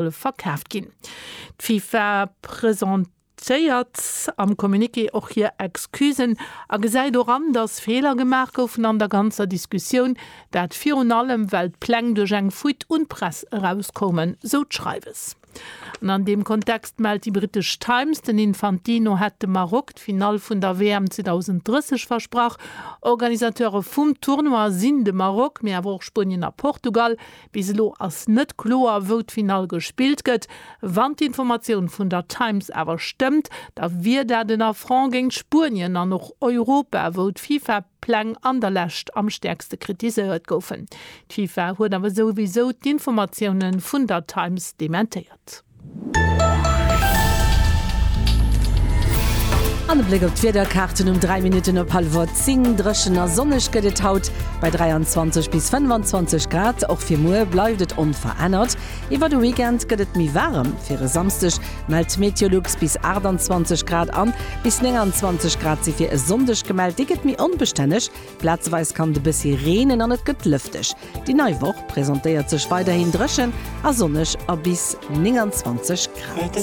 Verkaaft ginn. D'FIFA presentéiert am Communiqué och hir Excusen a gesäit och an, datt Feeler gemaach goufen an der ganzer Diskussioun, dat virun allem well d'Pläng duerch eng Fuite un d'Press erauskoumen, sou d'Schreiwes. An an deem Kontext mellt déi brittesch Times, den Infantino hätt dem Maroc d'Finall vun der WM 2030 versprach. Organisateure vum Tournoi sinn de Maroc, mee awer och Spuenien a Portugal. Bis elo ass net kloer, wou d'Finall gespillt gëtt. Wann d'Informatioun vun der Times awer stëmmt, da wier dat en Affront géint Spuenien an och Europa, wou d'FIFA-Pläng an der Lescht am stäerkste kritiséiert goufen. D'FIFA huet awer souwisou d'Informatioune vun der Times dementéiert. An e Bléck op d'Wiederkaarten um 3 Minutten op hallwer 10. Dréchen a sonneg gëtt et haut bei 23 bis 25 Grad. Och fir muer bleift et onverännert. Iwwer de Weekend gëtt et méi waarem. Fir e Samsdeg mellt Meteolux bis 28 Grad an bis 29 Grad si fir e Sonndeg gemellt. Dee gëtt méi onbestänneg, Plazeweis kann et e bëssi reenen an et gëtt lëfteg. Déi nei Woch presentéiert sech weiderhin dréchen a sonneg a bis 29 Grad.